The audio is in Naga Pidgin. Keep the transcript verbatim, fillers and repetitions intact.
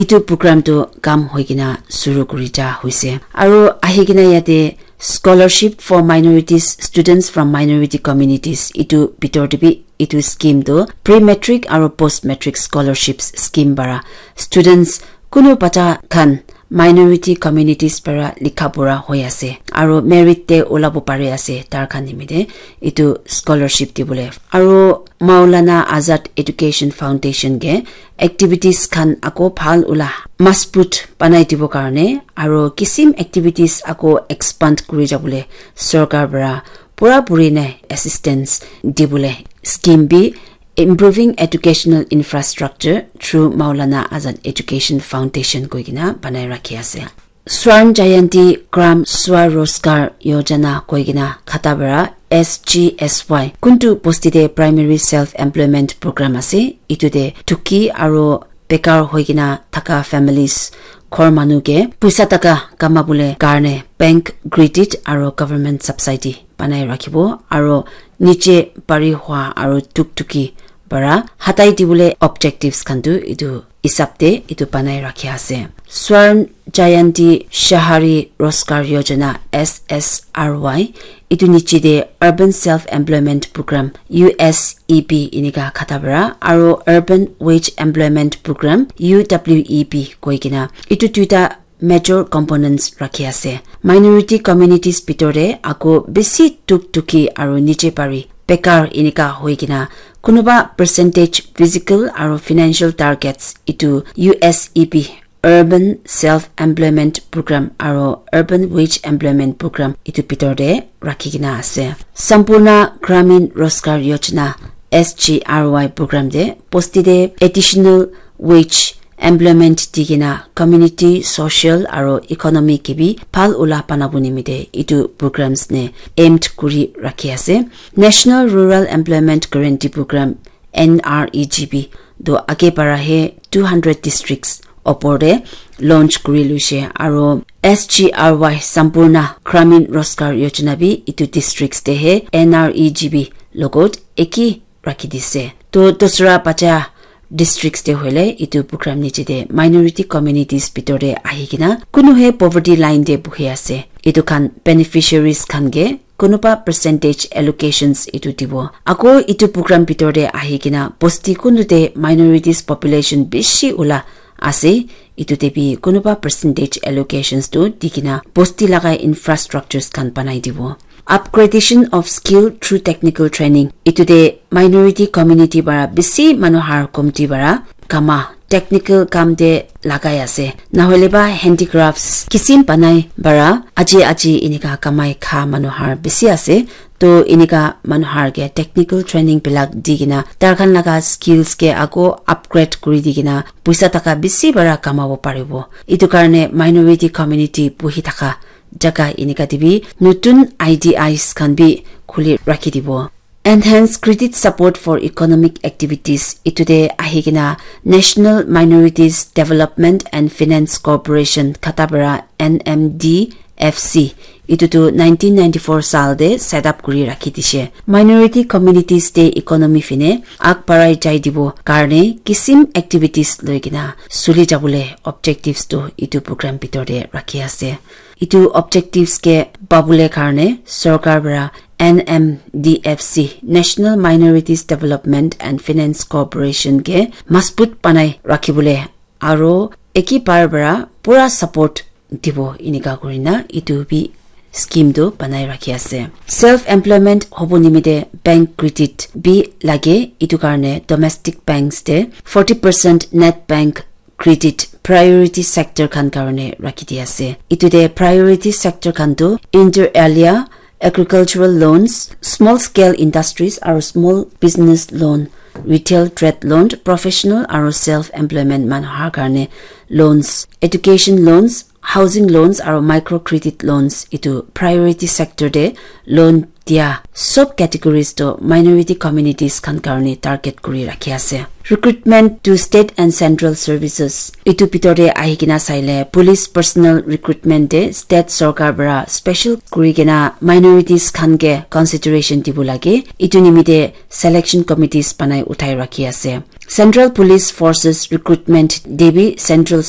Itu program tu kam hoi kena suru kuri ja hoise. Aru ahi kena yate scholarship for minorities, students from minority communities, itu bitor te bi itu scheme tu pre-matric aru post-matric scholarships scheme para students kunu bacha khan minority communities para likha pura hoi ase aru merit te ulabo pari ase tar khan nimite itu scholarship dibole. Aru Maulana Azad Education Foundation ke activities khan ako bhal ula masbut banai dibo karne aru kisim activities ako expand kuri jabole sorkar para pura puri nai assistance dibole scheme bi Improving Educational Infrastructure through Maulana Azad Education Foundation koi kena banai rakhi ase. Swarn Jayanti Gram Swaroskar Yojana koi kena khata para S G S Y kuntu bosti te primary self employment program ase, itu te tuki aro bekar hoi kena thaka families ghor manu ke puisa taka kama bole karne bank credit aro government subsidy banai rakhibo aro niche pari hua aro tuktuki para hatai dibole objectives khan tu itu hisab te itu banai rakhi ase. Swarn Jayanti Shahari Rozgar Yojana S S R Y itu niche te Urban Self Employment Program U S E P inika khata para aro Urban Wage Employment Program U W E P koi kena itu duita major components rakhi ase. Minority communities bitor te ako bisi tuk tuki aru niche pari bekar inika hoi kena kunuba percentage physical aru financial targets itu U S E P Urban Self Employment Program aru Urban Wage Employment Program itu bitor te rakhi kena ase. Sampurna Gramin Rozgar Yojana S G R Y program te bosti te additional wage employment di kena community, social aro economy ke bi bhal ula banabo nimite itu programs ne aimed kuri rakhi ase. National Rural Employment Guarantee Program N R E G P do age para he two hundred districts opor te launch kuri luishe aro S G R Y Sampurna Gramin Rozgar Yojana bi itu districts te he N R E G P logot eki rakhi dise. To dusra bacha districts te hoile itu program niche te minority communities bitor te ahi kena kunu he poverty line te buhi ase. Itu khan beneficiaries khan ke kunuba percentage allocations itu dibo. Ako itu program bitor te ahi kena bosti kunu te minorities population bishi ula ase. Itu te bi kunuba percentage allocations tu di kena bosti laga infrastructures khan banai dibo. Upgradation of skill through technical training. Itu te minority community para bisi manu har komti para kama technical kam te lagai ase. Nahole ba handicrafts kisim banai para aji aji inika kamai kha manu har bisi ase. To inika manu har ke technical training bilak di kena tar khan laga skills ke ako upgrade kuri di kena puisa taka bisi para kamabo paribo. Itu karne minority community buhi thaka jaga inika te bi nutun I D Is khan bi khuli rakhi dibo. Enhance credit support for economic activities. Itu te ahi kena National Minorities Development and Finance Corporation khata para N M D F C. Itu tu nineteen ninety-four saal te set up kuri rakhi dishe. Minority communities te economy fine ag barai jai dibo karne kisim activities loi kena suli jabole objectives tu itu program bitor te rakhi ase. Itu objectives ke pabole karne sorkar para N M D F C, National Minorities Development and Finance Corporation ke masbut banai rakhibole aro eki bar para pura support dibo inika kurina itu bi scheme tu banai rakhi ase. Self employment hobo nimite bank credit bi lage, itu karne domestic banks te forty percent net bank credit priority sector khan karne rakhi di ase. Itu te priority sector khan tu inter alia, agricultural loans, small scale industries aru small business loan, retail trade loan, professional aru self employment manu har karne loans, education loans, housing loans aru micro credit loans itu priority sector te loan dia sob categories to minority communities khan karne target kuri rakhi ase. Recruitment to state and central services. Itu bitor te ahi kena saile police personnel recruitment te state sorkar para special kuri kena minorities khan ke consideration dibo lage. Itu nimite selection committees banai uthai rakhi ase. Central Police Forces recruitment te bi central